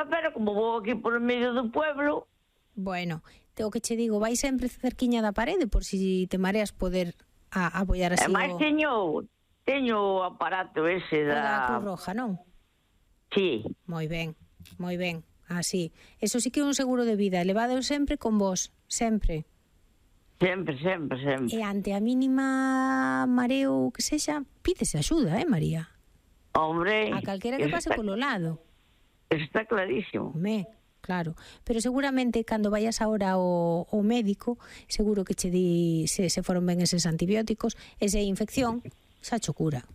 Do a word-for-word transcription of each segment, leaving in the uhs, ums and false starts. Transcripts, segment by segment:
casa, pero como vou aquí por medio do pueblo... Bueno, o que che digo, vai sempre cerquiña da parede por si te mareas poder a, apoiar así. E máis o... teño, teño o aparato ese o da... da Cruz Roja, non? Sí. Moi ben, moi ben, así. Eso sí que é un seguro de vida, levado sempre con vos, sempre. Sempre, sempre, sempre. E ante a mínima mareo que sexa, pídese axuda, eh, María? Hombre... A calquera que pase está, polo lado. Está clarísimo. Me, claro. Pero seguramente cando vayas ahora ao, ao médico, seguro que che di se, se foron ben eses antibióticos, esa infección, xa cho cura.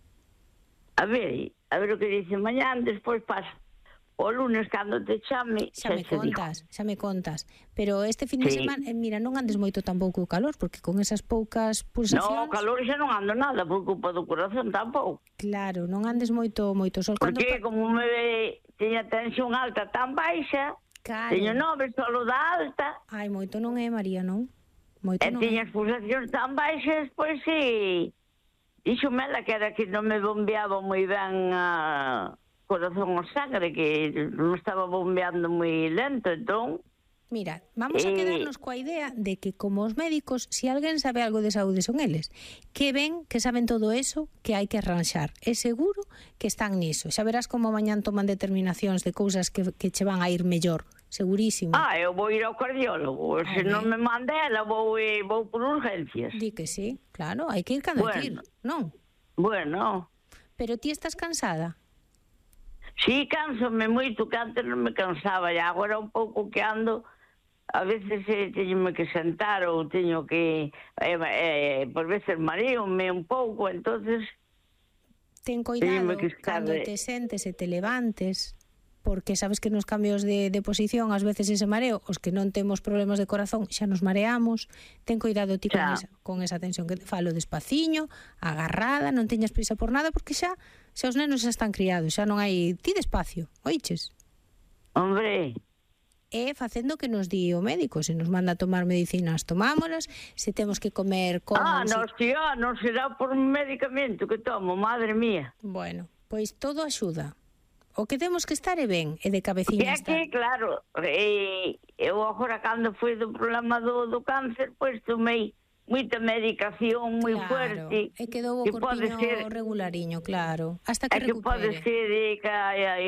A ver, a ver o que dice mañán, despois pasa. O lunes, cando te chame... Xa me contas, xa me contas. Pero este fin de sí. semana, eh, mira, non andes moito tampouco o calor, porque con esas poucas pulsacións... No, o calor xa non ando nada, por culpa do corazón tampouco. Claro, non andes moito moito sol. Porque cando... como me ve, teña tensión alta tan baixa, claro. teño nove solo da alta. Ai, moito non é, María, non? Moito e non teña é. as pulsacións tan baixas, pois si... Díxome ela que era que non me bombeaba moi ben a... corazón o sangre, que non estaba bombeando moi lento, entón... Mira, vamos a quedarnos coa idea de que como os médicos, se si alguén sabe algo de saúde son eles, que ven, que saben todo eso, que hai que arranxar. É seguro que están niso. Xa verás como mañán toman determinacións de cousas que, que che van a ir mellor. Segurísimo. Ah, eu vou ir ao cardiólogo. Se non me manda ela, vou, vou por urgencias. Di que sí, claro, hai que ir cando bueno, hai que ir, non? Bueno. Pero ti estás cansada? Sí, cánsome moito, que antes non me cansaba, e agora un pouco que ando, a veces eh, teño que sentar ou teño que, eh, eh, por veces mareome un pouco, entonces... Ten cuidado cando te sentes e te levantes, porque sabes que nos cambios de, de posición, ás veces ese mareo, os que non temos problemas de corazón, xa nos mareamos, ten cuidado ti con esa, con esa tensión, que te falo despaciño, agarrada, non teñas prisa por nada, porque xa, xa os nenos xa están criados, xa non hai, ti despacio, oiches? Hombre... E facendo que nos di o médico, se nos manda a tomar medicinas, tomámolas, se temos que comer con... Ah, non, si, ah, non será por medicamento que tomo, madre mía. Bueno, pois todo axuda. O que temos que estar é ben, e de cabeciña estar. É que, claro, eh, eu agora cando foi do problema do, do cáncer, pois tomei moita medicación moi claro, fuerte. E quedou o corpiño ser, regulariño, claro, hasta que recupere. É que pode ser eh, que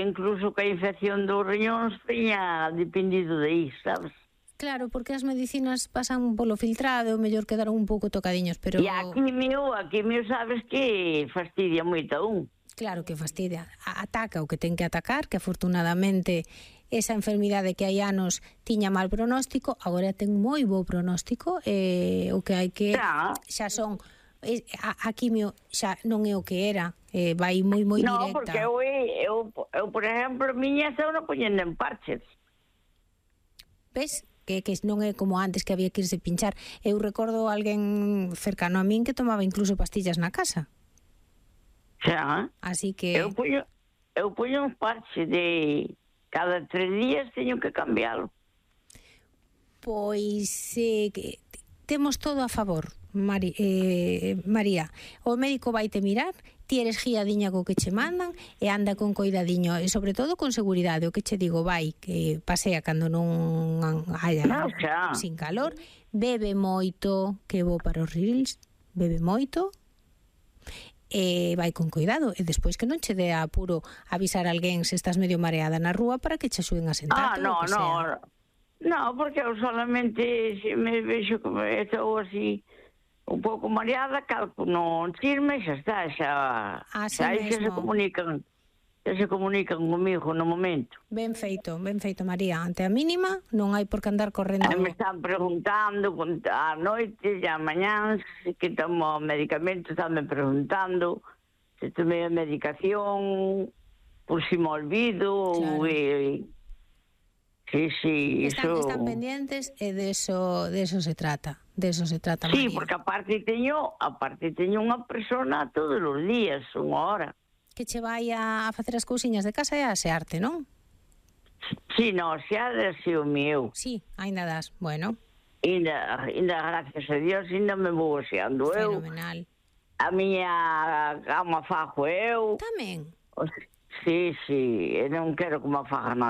incluso que a infección dos riñóns teña dependido de iso, sabes? Claro, porque as medicinas pasan polo filtrado, o mellor quedaron un pouco tocadiños, pero... E a quimio, a quimio sabes que fastidia moito a un. Claro que fastidia. Ataca o que ten que atacar, que afortunadamente esa enfermidade que hai anos tiña mal pronóstico, agora ten moi bo pronóstico, e o que hai que... Xa, xa son... A, a quimio xa non é o que era, eh, vai moi moi no, directa. No, porque eu, eu, eu, por exemplo, miña xa non poñendo en parches. Ves? Que, que non é como antes que había que irse pinchar. Eu recordo alguén cercano a min que tomaba incluso pastillas na casa. Xa. Así que... Eu puño, eu puño un parche de... Cada tres días teño que cambiálo. Pois eh, que temos todo a favor, Mari, eh, María. O médico vai te mirar, ti eres guiadiña co que che mandan e anda con coidadiño, e sobre todo con seguridade. O que che digo, vai, que pasea cando non haya no, sin calor, bebe moito, que bo para os reels, bebe moito, e vai con cuidado, e despois que non che dé apuro avisar a alguén se estás medio mareada na rúa para que che axuden a sentarte. Ah, no, ou que no, sea. no, porque eu solamente se me vexo como estou así un pouco mareada, calco non chisme, xa está, xa, así xa aí xa se comunican, xa se comunican comigo no momento. Ben feito, ben feito, María. Ante a mínima non hai por que andar correndo. E me están preguntando a noite e a mañán se que tomo medicamentos, están me preguntando se tomei a medicación, por si me olvido, claro. e, sí, sí, están, eso... están pendientes e de eso, de eso se trata, de eso se trata, sí, María. porque aparte teño, aparte teño unha persona todos os días, unha hora. Que che vai a facer as cousiñas de casa e a asearte, non? Sí, no, xa desde o meu. Sí, ainda das, bueno. Ainda, ainda, gracias a Dios, ainda me vou aseando eu. Fenomenal. A miña cama fajo eu. Tamén? Sí, sí, non quero que me faja nadie.